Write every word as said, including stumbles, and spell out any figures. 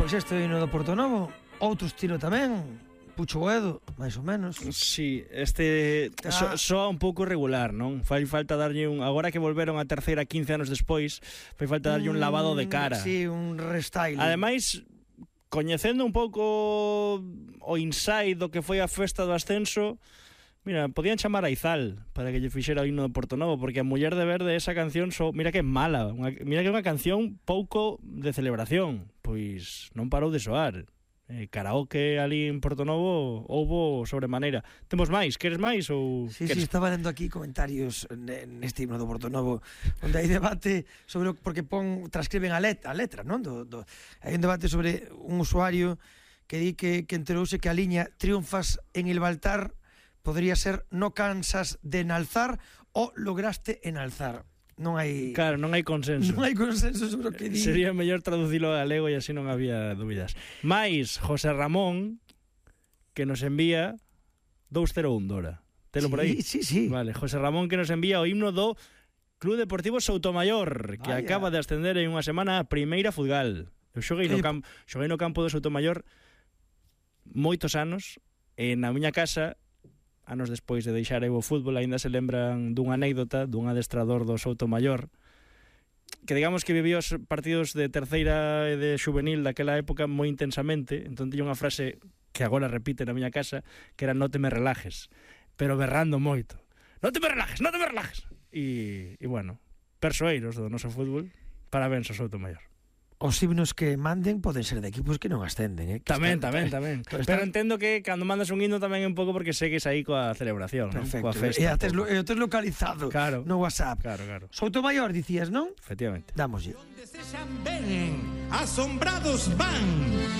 Pois este hino do Portonovo, outro estilo tamén, Pucho Boedo, máis ou menos. Sí, este so, soa un pouco irregular, non? Fai falta darlle un... Agora que volveron a terceira quince anos despois, fai falta darlle un lavado de cara. Sí, un restyling. Ademais, coñecendo un pouco o inside do que foi a festa do ascenso, mira, podían chamar a Izal para que lle fixera o himno de Portonovo, porque a Muller de Verde, esa canción, so, mira que é mala, unha, mira que é unha canción pouco de celebración, pois non parou de soar. Eh, karaoke ali en Portonovo houbo sobremaneira. Temos máis? Queres máis? Ou Sí, queres... sí, estaba lendo aquí comentarios neste himno do Portonovo onde hai debate sobre, porque pon, transcriben a letra, a letra, non? Do, do, hai un debate sobre un usuario que di que, que enterouse que a liña triunfas en el Baltar podría ser no cansas de enalzar o lograste enalzar. Non hai... Claro, non hai consenso. Non hai consenso sobre o que di. Sería mellor traducilo a galego e así non había dúbidas. Mais José Ramón, que nos envía dous cero un Dora. Telo sí, por aí? Sí, sí. Vale, José Ramón que nos envía o himno do Club Deportivo Soutomayor, que Vaya. acaba de ascender en unha semana a Primeira Futgal. Eu xoguei no, camp, xoguei no campo do Soutomayor moitos anos, e na miña casa, anos despois de deixar eu o fútbol, aínda se lembran dunha anécdota dun adestrador do Soutomayor que digamos que vivía os partidos de terceira e de juvenil daquela época moi intensamente, entón tiña unha frase que agora repite na miña casa, que era non te me relajes, pero berrando moito. Non te me relajes, non te me relajes. E, e bueno, persoeiros do noso fútbol, parabéns ao Soutomayor. Os himnos que manden poden ser de equipos que non ascenden, eh? Tamén, tamén, tamén. Pero están... entendo que cando mandas un himno tamén é un pouco porque segues aí coa celebración, perfecto, ¿no? Coa festa. E ates, lo, e ates localizado claro. no WhatsApp. Claro, claro. Soutomayor, dicías, non? Efectivamente. Dámoslle. Donde se venen, asombrados van.